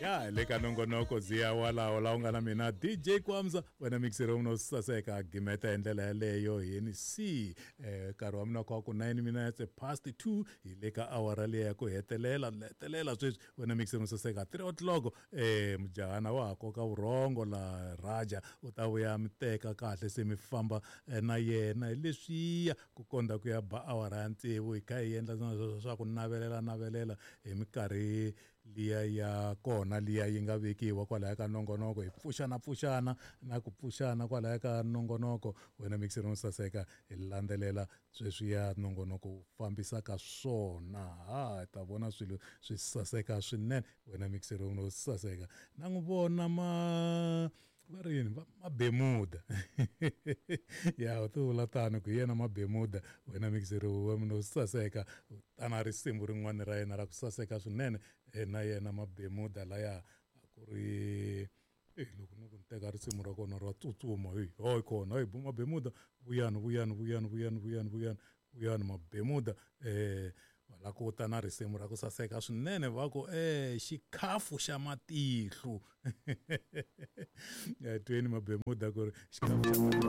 Ya hi le ka nongonoko ziya walawo laha u nga na mina DJ Kwamza, wena mixer wa mina saseka gimeta hi ndlela yaleyo hi ni c nkarhi wa mina kwa ku 9 minutes past 2, hi le ka awara leya ku hetelela hetelela sweswi, wena mixer wa saseka 3 o'clock. Mujahana wa ha koka vurhongo la Raja u ta vuya mi teka kahle se mi famba na yena hi leswiya ku konda ku ya ba awara ya tsevu, hi kha hi endla swa ku navelela navelela hi minkarhi liya ya kona liya yi nga vekiwa kwalaya ka nongonoko, hi pfuxana pfuxana na ku pfuxana kwalaya ka nongonoko. Wena mixer wo saseka, hi landzelela sweswiya nongonoko wu fambisaka swona, ha hi ta vona swilo swi saseka swinene. Wena mixer wo saseka, na n'wi vona ma va ri yini Mabemuda ya u ti vula tano ku hi yena Mabemuda. Wena mixer wa mina wo saseka, u tana risimu rin'wana ra yena ra ku saseka swinene na yena Mabemuda laya a ku ri loko no ku ni teka risimu ra kona ra tsutsuma, heyi hayi kona heyi Mabemuda, vuyani vuyani vuyani vuyani vuyani vuyani vuyani Mabemuda. Va la ku ta na risimu ra ku saseka swinene, va ku xikhafu xa matihlo. Tweni Mabemuda ku ri xikhafu xa matihlo.